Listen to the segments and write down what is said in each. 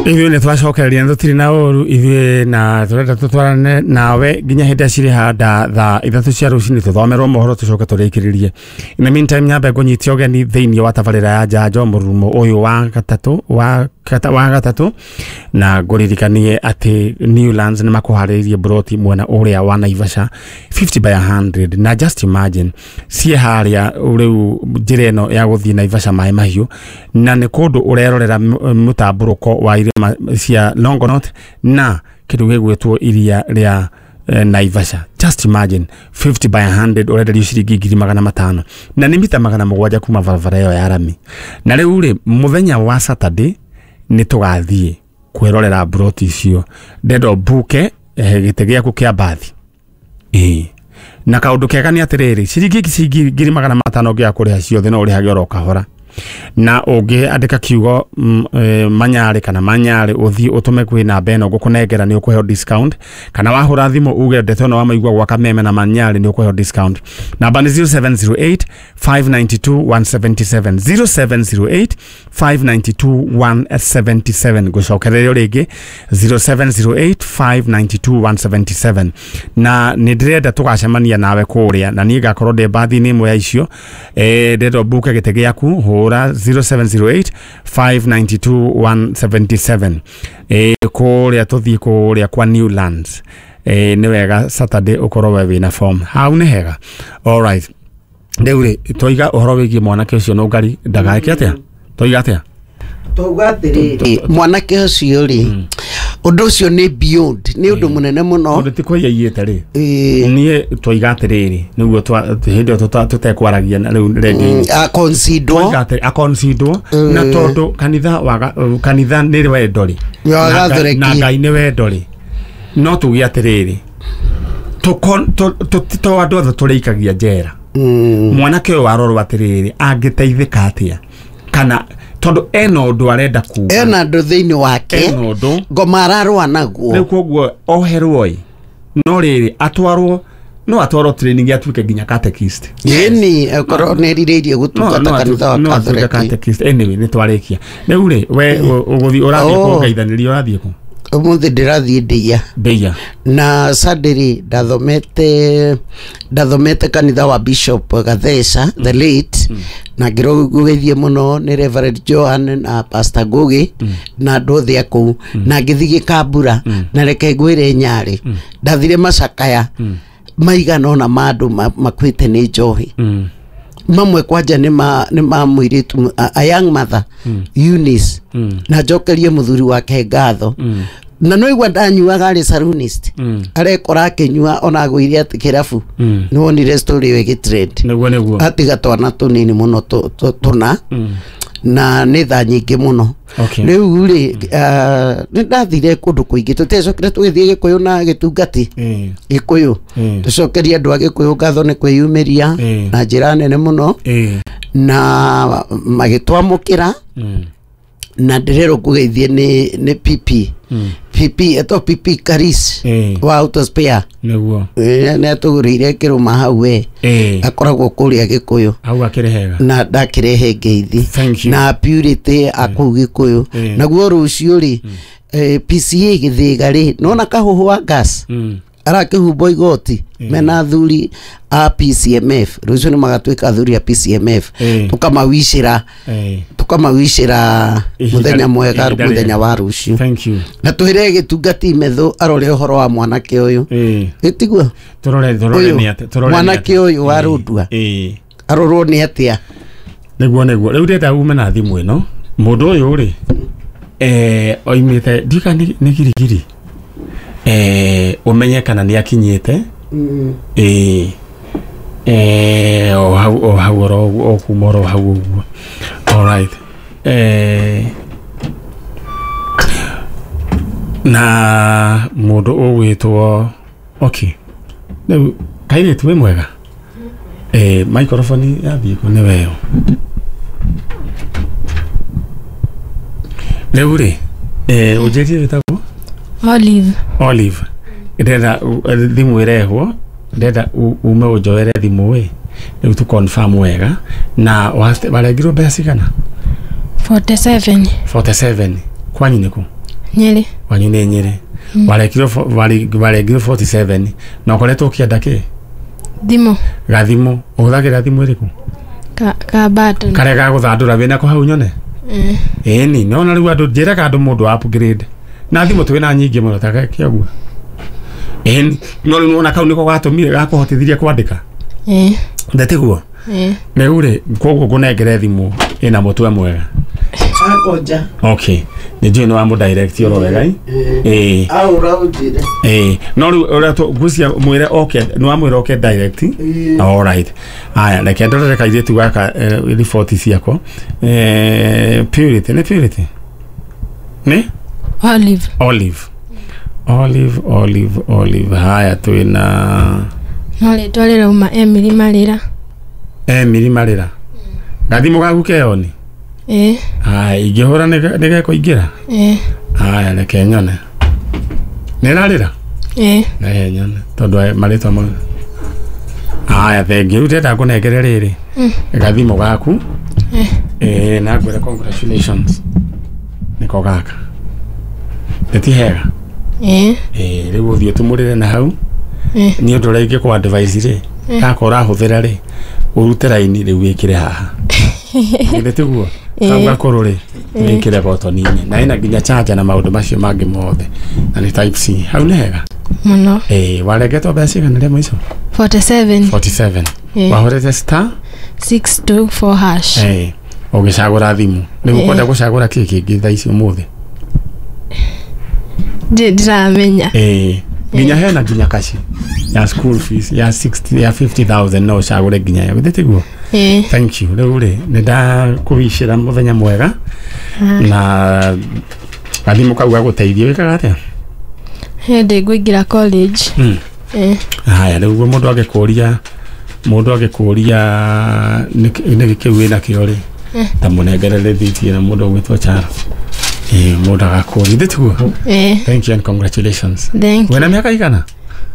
Ithuĩ nĩ twacokereria na tũtirĩ na ũru ithuĩ na tũrenda tũtwarane nawe nginya hĩndĩ ĩrĩa cirĩhanda thaa 3 cia rũcinĩ tũthomerwo mohoro tũcoke tũrĩkĩrĩrie. In the meantime nyambe ngũnyite ũgeni thĩinĩ wa tabarĩra ya njanjo mũrurumo ũyũ wa gatatũ wa gatatũ na ngũririkanie atĩ Newlands nĩ makũharĩrĩirie broti mwena ũrĩa wa Naivasha 50 by 100 na just imagine ciĩ harĩa rĩu njĩra ĩno ya gũthiĩ Naivasha maĩ mahiũ na nĩ kũndũ ũrerorera mũtambũrũko wa irĩma cia Longonot na kĩndũ gĩgwĩtwo iria rĩa Naivasha. Just imagine 50 by 100 ũrenderio ciringi 500,000 na nĩ mita 700 kuma barabara ĩyo ya rami. Na rĩu rĩ mũthenya wa Saturday nĩ tũgathiĩ kwĩrorera broti icio ndenda ũmbuke gĩtĩ gĩaku kĩa mbathi. Ĩĩ na kaũndũ kega nĩ atĩrĩrĩ ciringi 500,000 ũngĩaga kũrĩha ciothe no ũrĩhage oro kahora na ũngĩandĩka kiugo manyarĩ kana manyarĩ ũthiĩ ũtũme kwĩ namba ĩno ngũkũnengera nĩ ũkũheo discount kana wahũra thimũ uge ndeto ĩno wamaigua gwa Kameme na manyarĩ nĩ ũkũheo discount. Namba nĩ 0708 592 177 0708 592 177 ngũcokererio rĩngĩ 0708 592 177 na nĩ ndĩrenda tũgacemania nawe kũrĩa na niĩ ngakorwo ndĩ mbathi-inĩ ĩmwe ya icio. Ndĩrenda ũmbuke gĩtĩ gĩaku hũra 0708 592 177 kũrĩa tũthiĩ kũrĩa kwa Newlands. Nĩ wega Saturday ũkorwo we wĩna form hau nĩ hega. Alright, rĩu rĩ twaiga ũhoro wĩgiĩ mwanake ũcio nũngari ndagaeke atĩa twaiga atĩa twauga atĩrĩrĩ mwanake ũcio rĩ ũndũ ũcio nĩ beyond nĩ ũndũ mũnene mũno tondũ ti kũiya iyĩte rĩ niĩ twaiga atĩrĩrĩ nĩguo hĩndĩ ĩyo tũtekwaragia na rĩu redio-inĩ akonsidwo akonsidwo na tondũ kanitha nĩ wendo rĩ na Ngai nĩ wendo rĩ no tuge atĩrĩrĩ to andũ othe tũrĩikagia njera. Mwanake ũyũ warorwo atĩrĩrĩ angĩteithĩka atĩa kana tondũ ena ũndũ arenda kuga ena ũndũ thĩinĩ wake ngoma ararũa naguo rĩu koguo oherwo ĩ no rĩrĩ atwarwo no atwarwo training atuĩke nginya catechist. Ĩni akorwo nĩ erirĩirie gũtungata kanitha wa Catholic catechist. Anyway nĩ twarĩkia rĩu rĩ we ũgũthiĩ ũrathiĩ kũngeithanĩria ũrathiĩ kũ? Ũmũthĩ ndĩrathiĩ Ndeiya na Sunday rĩ ndathomete kanitha wa Bishop Gatheca the late na ngĩrũgeithie mũno nĩ Reverend Johan na Pastor Ngugi na andũ othe a kũu na ngĩthiĩ Gĩkambura na reke ngwĩre Nyarĩ ndathire macakaya maigana ũna ma andũ makuĩte nĩ njohi mamwe kwanja nĩ ma mũirĩtu a young mother Eunice na njokerie mũthuri wake ngatho na no igua ndanyuaga arĩ salonist arekora akĩnyua ona agũire atĩ kĩrabu nĩ wonire story ĩyo ĩgĩtrend nĩguo atiga twana tũnini mũno tũna na nĩ thaa nyingĩ mũno. Rĩu rĩ nĩ ndathire kũndũ kũingĩ tũtiacokire tũgĩthiĩ Gĩkũyũ na Gĩtungati Gĩkũyũ tũcokerie andũ a Gĩkũyũ ngatho nĩ kwĩyumĩria na njĩra nene mũno na magĩtwamũkĩra na ndĩrerwo ngũgeithie nĩ PP PP eto PP Karis wa Auto Spare nĩguo nĩ atũgũrĩire kĩrũma hau we akoragwo kũrĩa Gĩkũyũ hau akĩrĩ hega na ndakĩrehe ngeithi na Purity akũu Gĩkũyũ naguo rũciũ rĩ PCA Gĩthĩga rĩ nona kahũhũ wa gas arakĩhumbwo igoti mena athuri a PCMF rũciũ nĩ magatuĩka athuri a PCMF tũkamawicĩra mũthenya mwega mũthenya wa rũciũ. Thank you. Na twĩre Gĩtungati Methu arore ũhoro wa mwanake ũyũ ĩtiguo tũrore nĩ atĩa tũrore mwanake ũyũ wa Rũndua arorwo nĩ atĩa nĩguo rĩu ndĩrenda ume na thimũ ĩno mũndũ ũyũ rĩ oimĩte ndika nĩ Girigiri ũmenye kana nĩ akinyĩte o hau oro o kuma oro hau ũguo. Alright na mũndũ ũgwĩtwo okay rĩu kairĩtu wĩ mwega microphone yathiĩ kũ nĩ weyo rĩu rĩ ũnjĩrie wĩtagwo Olive ndĩrenda thimũ ĩrehwo ndĩrenda ume ũnjoere thimũ ĩ rĩu tũ confirm wega na warengirwo mbeca cigana 47 47 kwanyu nĩ kũ? Nyĩrĩ. Wanyu nĩ Nyĩrĩ. Warekirwo warekirwo 47 na ũkoretwo ũkĩenda kĩ? Thimũ. Gathimũ. Ũhũthagĩra thimũ ĩrĩkũ? Ka button. Karĩa ga gũthandũra wĩnako hau nyone? Ĩni, nona rĩu andũ njĩraga andũ mũndũ upgrade. Na thimũ twĩna nyingĩ mũno ta kĩoguo. Ĩni, no rĩu nĩwona kau nĩko gatũmire gakũhotithirie kwandĩka? Ndetiguo? Rĩu rĩ, koguo ngũnengere thimũ ĩna mũtwe mwega. Akonja. Okay. Nĩ njũĩ nĩ wa mũ direct oro wega ĩ? Ĩĩ. Aũra ũnjĩre. Ĩĩ. No rĩu ũrĩa ngwĩciria mwĩre oke, nĩ wamwĩra oke direct? All right. Aya, reke ndorere kairĩtu gaka riboti ciako. Purity, nĩ Purity? Nĩ? Olive. Olive. Olive, Olive, Olive. Haya twĩna No rĩtwa rĩrauma Emily Marĩra. Emily Marĩra. Gathimũ gaku keyoni? Ĩĩ. Haya, ingĩhũra nĩgekũingĩra? Ĩĩ. Haya, reke nyone. Nĩrarĩra? Ĩĩ. Reke nyone tondũ marĩtwa mau. Haya, thengiũ. Rĩu ndĩrenda ngũnengere rĩrĩ gathimũ gaku. Ĩĩ, na ngwĩre congratulations. Nĩko gaka. Nĩ ti hega? Ĩĩ. Ĩĩ, rĩu ũthiĩ ũtumũrĩre na hau. Nĩ ũndũ ũrĩa ingĩkũ advice rĩ, gaka ũrahũthĩra rĩ, ũrute raini rĩu wĩkĩre haha. Githĩ tiguo? Kau gakũrũ rĩ, wĩkĩre botoni-inĩ. Na ĩna nginya charger na maũndũ macio mangĩ mothe. Na nĩ type C. Hau nĩ hega? Mũno. Ĩĩ, warengetwo mbeca cigana rĩa mũico? 47. 47. Wahũrĩte star 624 hash. Ĩĩ. Ũgĩcagũra thimũ. Rĩu ũkwenda gũcagũra kĩ kĩngĩ thaa ici ũmũthĩ? Ndiramenya. Ĩĩ. Nginya hena nginya kaci ya school fees ya 60 ya 50,000 no ũcagũre nginya yo. Githĩ tiguo? Thank you. Rĩu rĩ, nĩ ndakũwicĩra mũthenya mwega na gathimũ kau gagũteithie. Wĩkaga atĩa? Hĩndĩ ngũingĩra college. Haya, rĩu mũndũ angĩkũria nĩkĩ kĩu wĩnakĩo rĩ, ta mũnengere rĩthiti na mũndũ ũgwĩtwo Charo. Mũndũ agakũria. Githĩ tiguo? Thank you and congratulations. Thank you. Wĩna mĩaka igana?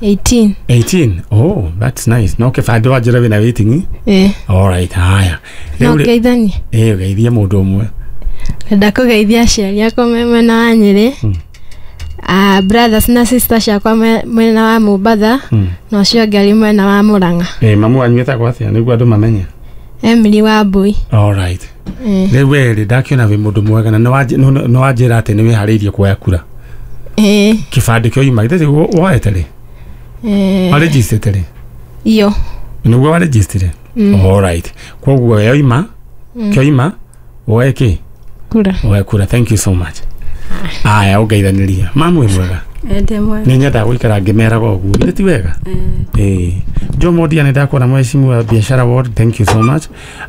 18. 18. Oh, that's nice. No kĩbandĩ wanjĩra wĩna waiting? All right, haya. No ngeithanie? Ĩĩ, ũgeithie mũndũ ũmwe. Ndenda kũgeithia aciari akwa me mwena wa Nyĩrĩ. Brothers na sisters ciakwa mwena wa Mombatha na ũcio ũngĩ arĩ mwena wa Murang'a. Mamu wanyu etagwo atĩa nĩguo andũ mamenye? Emily Wambui. All right. Rĩu we rĩ, ndakĩona wĩ mũndũ mwega na nĩ wanjĩra atĩ nĩ wĩharĩirie kuoya kura. Kĩbandĩ kĩoima, githĩ tiguo woete rĩ? Warĩnjistĩte rĩ? Iyo. Nĩguo warĩnjistire? All right. Koguo yoima, kĩoima, woe kĩ? Kura. Woe kura. Thank you so much. Aya, ũngeithanĩria. Mamu wĩ mwega? Ndĩ mwega. Nĩ nyendaga gũikara ngĩmeraga ũguo. Githĩ ti wega? Ĩĩ. Joe Modia nĩ ndakuona mheshimiwa biashara ward, thank you so much.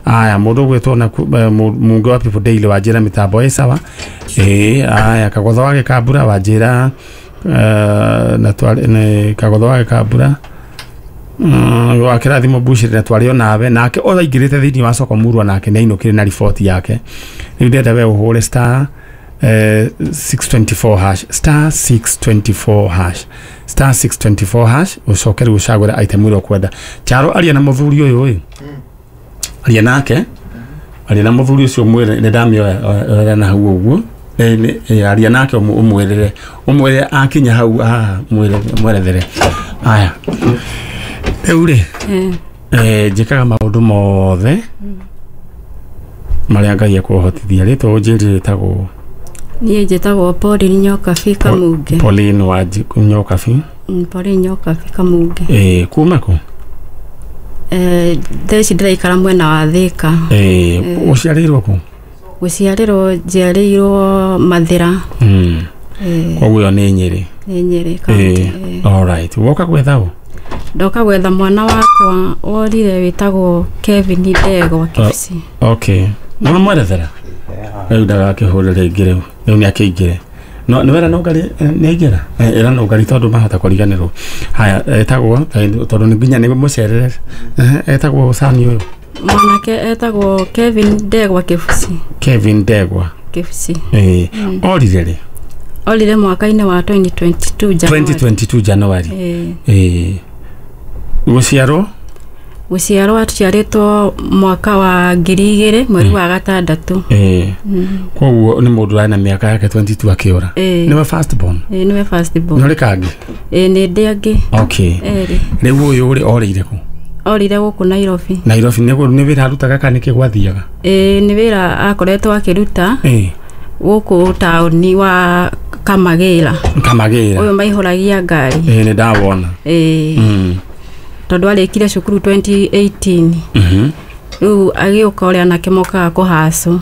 Aya, mũndũ ũgwĩtwo na Mungu wa People Daily wanjĩra mĩtambo ĩ sawa. Ĩĩ, aya, Kagotho wa Gĩkambura wanjĩra na twarĩ nĩ Kagotho wa Gĩkambura wa kĩrathimo Bushiri na twarĩ onawe nake ũraingĩrĩte thĩinĩ wa soko murwa nake nĩ ainũkire na riboti yake. Rĩu ndĩrenda we ũhũre star 624 hash star 624 hash star 624 hash ũcoke rĩu ũcagũre item ĩrĩa ũkwenda. Charo aria na mũthuri ũyũ ĩ, aria nake, aria na mũthuri ũcio ũmwĩre nĩ ndamĩoya na hau ũguo. Aria nake ũmwĩrĩre, ũmwĩre akinya hau haha mwerethere. Aya, rĩu rĩ, njĩkaga maũndũ mothe marĩa Ngai ekũhotithia. Rĩtwa ũnjĩrire rĩtagwo? Niĩ njĩtagwo Pauline Nyokabi Kamunge. Pauline wa Nyokabi. Pauline Nyokabi Kamunge. Kuma kũ? Thaa ici ndĩraikara mwena wa Thĩka. Ũciarĩirwo kũ? Gũciarĩrwo njiarĩirwo Mathĩra. Koguo ĩyo nĩ Nyĩrĩ. Nĩ Nyĩrĩ kaunti. All right. Woka gwetha ũ? Ndoka gwetha mwana wakwa worire wĩtagwo Kevin Ndegwa Kibisi. Okay. Nĩ wamwerethera? Rĩu ndagakĩhũre rĩngĩ rĩu. Rĩu nĩ akĩingĩre. No nĩ wera nũngari nĩ aingĩra? Ĩra nũngari tondũ mahota kũriganĩrwo. Haya, etagwo tondũ nĩ nginya nĩ mũcerere. Etagwo cani ũyũ? Mwanake etagwo Kevin Ndegwa Kibisi. Kevin Ndegwa Kibisi. Orire rĩ? Orire mwaka-inĩ wa 2022 January. 2022 January. Gũciarwo? Gũciarwo aciarĩtwo mwaka wa 2000 mweri wa 6. Koguo nĩ mũndũ arĩ na mĩaka yake 22 akĩũra. Nĩwe first born? Nĩwe first born. Nĩ ũrĩ kangĩ? Nĩ ndĩ angĩ. Okay. Rĩu ũyũ rĩ orĩire kũ? Orire gũkũ Nairobi. Nairobi nĩ wĩra arutaga kana nĩkĩ gwathiaga? Nĩ wĩra akoretwo akĩruta gũkũ taũni wa Kamagĩra. Kamagĩra. Ũyũ maihũragia ngari. Nĩ ndawona. Tondũ arĩkire cukuru 2018. Rĩu agĩũka ũrĩa anake mokaga kũhacwo.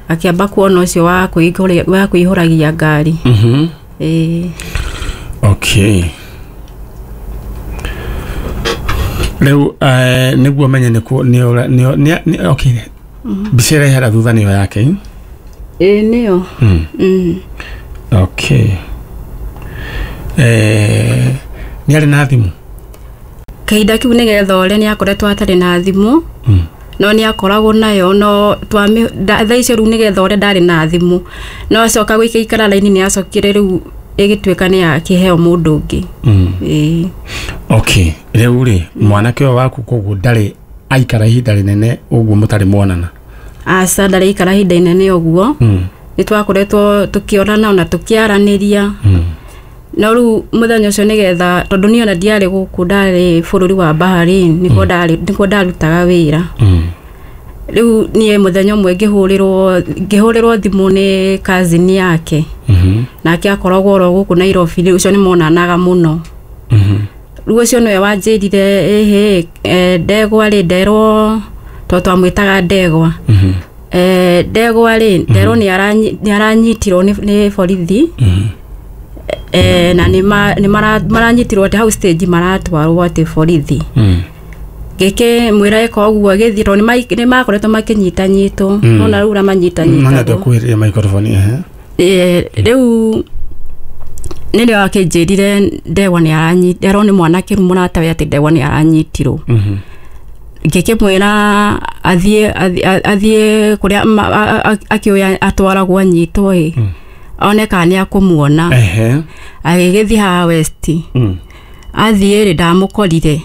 Akĩamba kuona ũcio wa kũihũragia ngari. Okay. Rĩu nĩguo menye nĩ okay. Mbica ĩrĩa ĩhera thutha nĩyo yake? Nĩyo. Okay. Nĩ arĩ na thimũ? Kahinda kĩu nĩgetha ũrĩa nĩ akoretwo atarĩ na thimũ. No nĩ akoragwo nayo no thaa icio rĩu nĩgetha ũrĩa ndarĩ na thimũ. No acoka gũikaikara raini nĩ acokire rĩu ĩgĩtuĩka nĩ akĩheo mũndũ ũngĩ. Okay. Rĩu rĩ mwanake ũyũ waku koguo ndarĩ aikara ihinda rĩnene ũguo mũtarĩ mwonana? Aca, ndarĩ aikara ihinda inene ũguo. Nĩ twakoretwo tũkĩonana ona tũkĩaranĩria. No rĩu mũthenya ũcio nĩgetha tondũ niĩ ona ndiarĩ gũkũ, ndarĩ bũrũri wa Bahrain, nĩkuo ndarutaga wĩra. Rĩu niĩ mũthenya ũmwe ngĩhũrĩrwo thimũ nĩ cousin yake. Nake akoragwo oro gũkũ Nairobi, rĩu ũcio nĩ monanaga mũno. Rĩu ũcio nĩwe wanjĩrire ĩhĩ Ndegwa rĩ, nderwo tondũ twamwĩtaga Ndegwa. Ndegwa rĩ, nderwo nĩ aranyitirwo nĩ borithi. Na nĩ maranyitirwo atĩ hau stage maratwarwo atĩ borithi. Gĩkĩ mwĩra ĩka ũguo gĩthiĩ tondũ nĩ makoretwo makĩnyitanyitwo. Nona rĩu ũrĩa manyitanyitagwo. Mana ndĩkuhĩrĩria microphone. Rĩu nĩrĩo akĩnjĩrire Ndegwa nĩ aranyitirwo nĩ mwanake rĩu mũratawe atĩ Ndegwa nĩ aranyitirwo. Ngĩkĩmwĩra athiĩ kũrĩa akĩoya atwaragwo anyitwo ĩ. One kana nĩ akũmuona. Agĩgĩthiĩ haha West. Athiĩ rĩ ndamũkorire.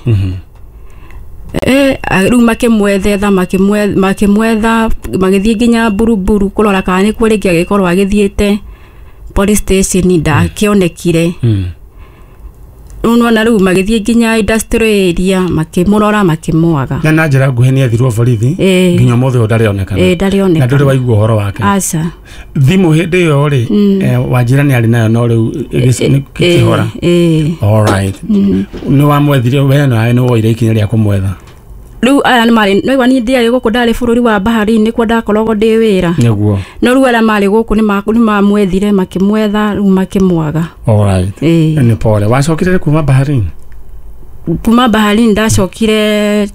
Rĩu makĩmwethetha makĩmwetha magĩthiĩ nginya Buruburu kũrora kana nĩkuo rĩngĩ agĩkorwo agĩthiĩte police station ndakĩonekire. Rĩu nĩwona rĩu magĩthiĩ nginya industrial area makĩmũrora makĩmwaga. Na njĩra nguhĩ nĩ ethirwo borithi nginya ũmũthĩ ũyũ ndarĩ onekana. Ndarĩ onekana. Na ndũrĩ waigua ũhoro wake? Aca. Thimũ hĩndĩ ĩyo rĩ wanjĩra nĩ arĩ nayo no rĩu ĩkĩhora. All right. Nĩ wamwethire we nawe nĩ woire ikinya rĩa kũmwetha? Rĩu aya nĩ marĩ nĩwaigua niĩ ndiarĩ gũkũ, ndarĩ bũrũri wa Bahrain nĩkuo ndakoragwo ndĩ wĩra. Nĩguo. No rĩu arĩa marĩ gũkũ nĩ mamwethire makĩmwetha rĩu makĩmwaga. All right. Nĩ pole. Wacokire kuma Bahrain? Kuma Bahrain ndacokire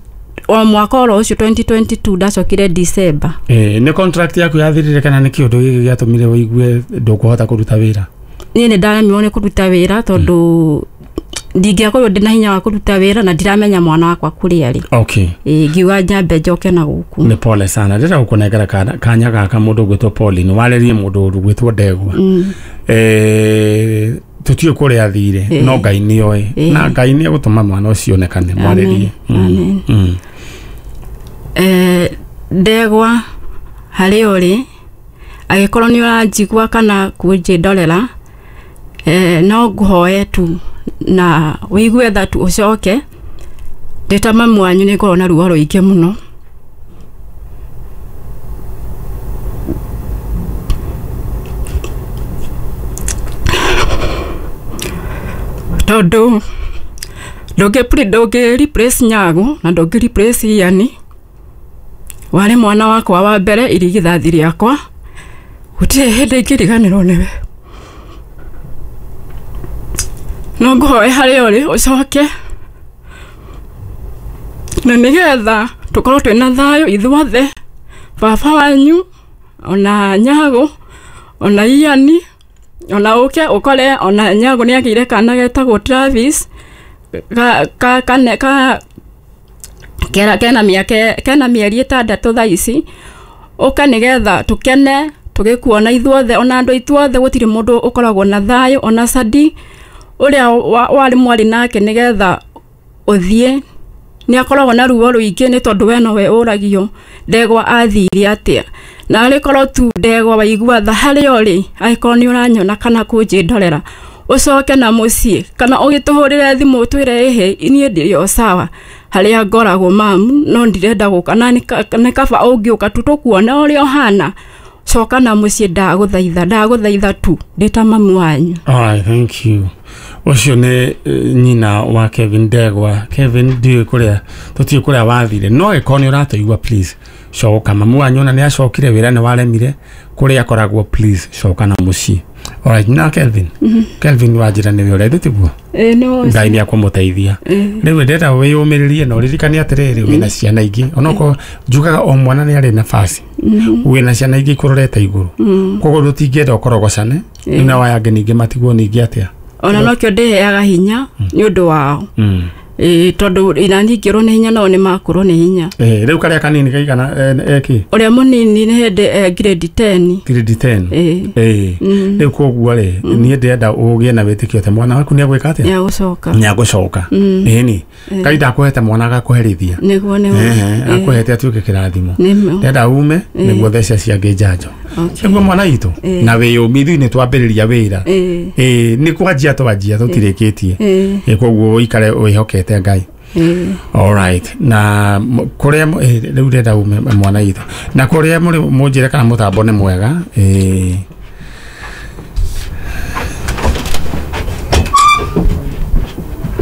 o mwaka oro ũcio 2022 ndacokire December. Nĩ contract yaku yathirire kana nĩ kĩũndũ gĩkĩ gĩatũmire ũigue ndũkũhota kũruta wĩra? Niĩ nĩ ndaremirwo nĩ kũruta wĩra tondũ ndingĩakorwo ndĩna hinya wa kũruta wĩra na ndiramenya mwana wakwa kũrĩa arĩ. Okay. Ngiuga nyambe njoke na gũkũ. Nĩ pole sana. Ndĩrenda gũkũnengera kanya gaka mũndũ ũgwĩtwo Pauline warĩrie mũndũ ũgwĩtwo Ndegwa. Tũtiũĩ kũrĩa athire no Ngai nĩoĩ na Ngai nĩ egũtũma mwana ũcio onekane. Mwarĩrie. Ndegwa harĩ ũrĩ agĩkorwo nĩ ũranjigua kana kũnjĩndorera no ngũhoe tu na ũigue tha tu ũcoke ndĩ ta mamu wanyu nĩ ngorwo na ruo rũingĩ mũno. Tondũ ndũngĩ replace Nyago na ndũngĩ replace Ian. Warĩ mwana wakwa wa mbere irigithathi rĩakwa, gũtirĩ hĩndĩ ingĩriganĩrwo nĩwe. No ngũhoe harĩa ũrĩ ũcoke na nĩgetha tũkorwo twĩna thayũ ithuothe, baba wanyu ona Nyago ona Ian ona ũke ũkore ona Nyago nĩ agĩire kana getagwo Travis kena mĩeri 6 thaa ici. Ũka nĩgetha tũkene tũgĩkuona ithuothe ona andũ aitũ othe, gũtirĩ mũndũ ũkoragwo na thayũ ona Sadi ũrĩa warĩ mwarĩ nake, nĩgetha ũthiĩ Nĩ akoragwo na ruo rũingĩ nĩ tondũ we nowe ũragio Ndegwa athire atĩa. Na arĩkorwo tu Ndegwa waigua tha harĩa ũrĩ, angĩkorwo nĩ ũranyona kana kũnjĩndorera, ũcoke na mũciĩ kana ũgĩtũhũrĩre thimũ ũtwĩre ĩhĩ niĩ ndĩrĩ o sawa harĩa ngoragwo mamu, no ndirenda gũka na nĩ kaba ũngĩũka tu tũkuona ũrĩa ũhana. Coka na mũciĩ, ndagũthaitha, ndagũthaitha tu ndĩ ta mamu wanyu. Alright, thank you. Ũcio nĩ nyina wa Kevin Ndegwa. Kevin, ndiũĩ kũrĩa, tũtiũĩ kũrĩa wathire, no ĩkorwo nĩ ũratũigua, please coka. Mamu wanyu ona nĩ acokire, wĩra nĩ waremire kũrĩa akoragwo, please coka na mũciĩ. Alright, na Kelvin. Kelvin wanjĩra nĩwe ũrĩa tiguo? Ĩĩ, nĩ ũcio. Ngai nĩ akũmũteithia. Rĩu ndĩrenda wĩyũmĩrĩrie na ũririkane atĩrĩrĩ, wĩna ciana ingĩ, onokorwo njugaga o mwana nĩ arĩ nafasi, wĩna ciana ingĩ ikũrorete igũrũ, koguo ndũtingĩenda ũkorogocane rĩu na waya angĩ ningĩ matigwo ningĩ atĩa. Ona nokĩo ndĩheaga hinya nĩ ũndũ wao. Ĩĩ, tondũ ina ningĩrwo nĩ hinya nao nĩ makũrwo nĩ hinya. Rĩu karĩa kanini kaigana eki? Ũrĩa mũnini nĩ hĩndĩ grade 10. Grade 10. Ĩĩ. Rĩu koguo rĩ, niĩ ndĩrenda ũgĩe na wĩtĩkio atĩ mwana waku nĩ agwĩka atĩa? Nĩ agũcoka. Nĩ agũcoka. Ĩni Ngai ndakũhete mwana agakũherithia. Nĩguo, nĩguo. Akũhete atuĩke kĩrathimo. Nĩmo. Ndĩrenda ume nĩguo theca ciangĩ njanjo. Okay. Nĩguo mwana witũ na wĩyũmi, ithuĩ nĩ twambĩrĩria wĩra. Ĩĩ, nĩ kwanjia twanjia, tũtirĩkĩtie. Koguo ũikare wĩhokete Ngai. Alright, na kũrĩa rĩu ndĩrenda ume mwana witũ, na kũrĩa mũrĩ mũnjĩre kana mũtambo nĩ mwega.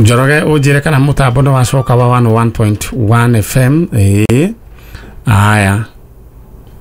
Njoroge, ũnjĩre kana mũtambo nĩ wacoka wa 101.1 FM. Aya.